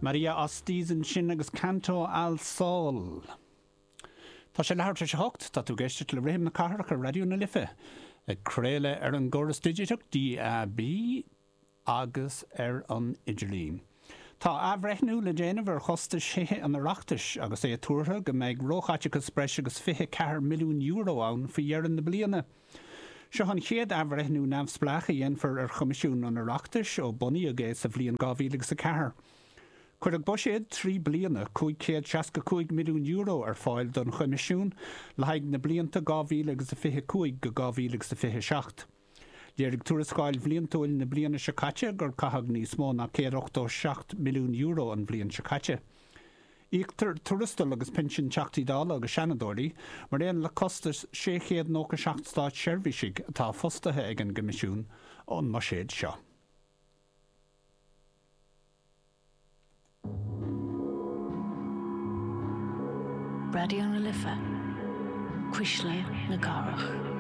Maria Ostiz ansin agus Canto al Sol. Tá sé leathuair tar éis a hocht, tá tú ag éisteacht le Rithim na Cathrach ar Raidió na Life, ag craoladh ar an gcóras digiteach DAB agus ar an idirlíon. Tá athbhreithniú le déanamh ar chostais Thithe an Oireachtais agus é tuartha go mbeidh róchaiteachas breis agus €24 milliún ann faoi dheireadh na bliana. Seo an chéad athbhreithniú neamhspleách a dhéanfar ar Choimisiún an Oireachtais ó bunaíodh é sa bhliain 2004. Cuireadh buiséad 3 bliana, €565 milliún ar fáil don Choimisiún le haghaidh na blianta 2025-2027. Léirigh tuarascáil bhliantúil na bliana seo caite gur caitheadh níos mó ná €187 milliún an bhliain seo caite. Íoctar tuarastail agus pinsin Teachtaí Dála agus Seanadóirí, mar aon le costais 697 státseirbhísigh atá fostaithe ag an gCoimisiún, ón mbuiséad seo. Raidió na Life, Cuisle na Cathrach.